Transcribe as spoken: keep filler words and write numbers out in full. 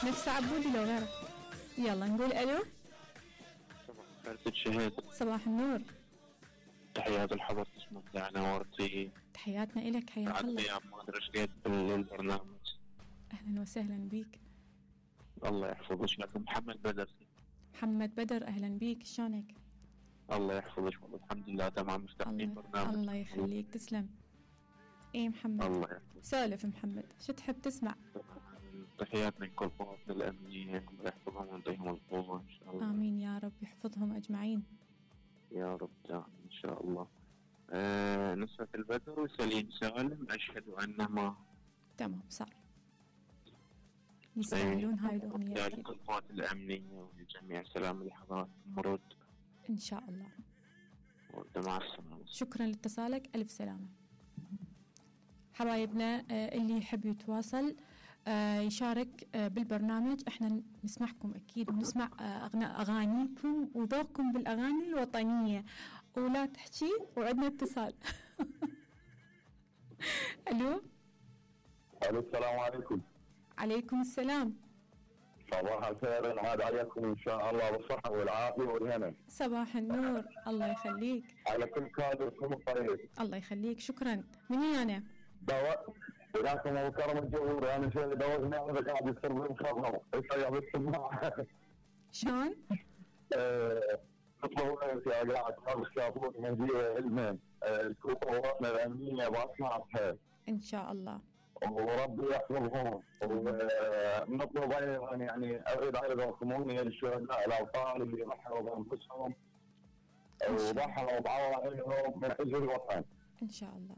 نفس عبودي لو غيره. يلا نقول الو. صباح الشهيد. صباح النور. تحيات الحضر اسمك يعني نورتي. تحياتنا إلك حياك الله. ما ادري ايش قد بالبرنامج. اهلا وسهلا بيك. الله يحفظك. لكن محمد بدر. محمد بدر اهلا بيك، شلونك؟ الله يحفظك والله الحمد لله تمام مستقبل برنامج. الله يخليك تسلم. ايه محمد الله يحفظك. سولف محمد، شو تحب تسمع؟ تحياتنا لكل قواتنا الأمنية، الله يحفظهم ويعطيهم القوة إن شاء الله. آمين يا رب يحفظهم أجمعين يا رب دائما إن شاء الله. آه نصرة البدر وسليم سالم أشهد أنهما تمام صار يستاهلون هاي الأغنية. لكل القوات الأمنية ولجميع سلام اللحظات مرود إن شاء الله. مع السلامة. شكرا لاتصالك، ألف سلامة. حبايبنا اللي يحب يتواصل يشارك بالبرنامج، احنا نسمعكم اكيد ونسمع اغانيكم وذوقكم بالاغاني الوطنيه، ولا تحكي وعندنا اتصال. الو. الو السلام عليكم. عليكم السلام. صباح الخير، نعاد عليكم ان شاء الله بالصحه والعافيه والهنا. صباح النور، الله يخليك. على كل كادركم الطيب. الله يخليك، شكرا. مني انا؟ دواء وياكم ابو كرم الجوهر. انا شيء دوزنا هذا قاعد يصير بالخضره يصير بالسماعه. شلون؟ تطلعوا يا قاعد تشوفون من جهه علما القواتنا الامنيه باصنعها ان شاء الله، وربي يحفظهم. ونطلب ايضا يعني اريد ايضا ثمانيه للشهداء الاوطان اللي ضحوا بانفسهم وضحوا بعوائلهم من اجل الوطن. ان شاء الله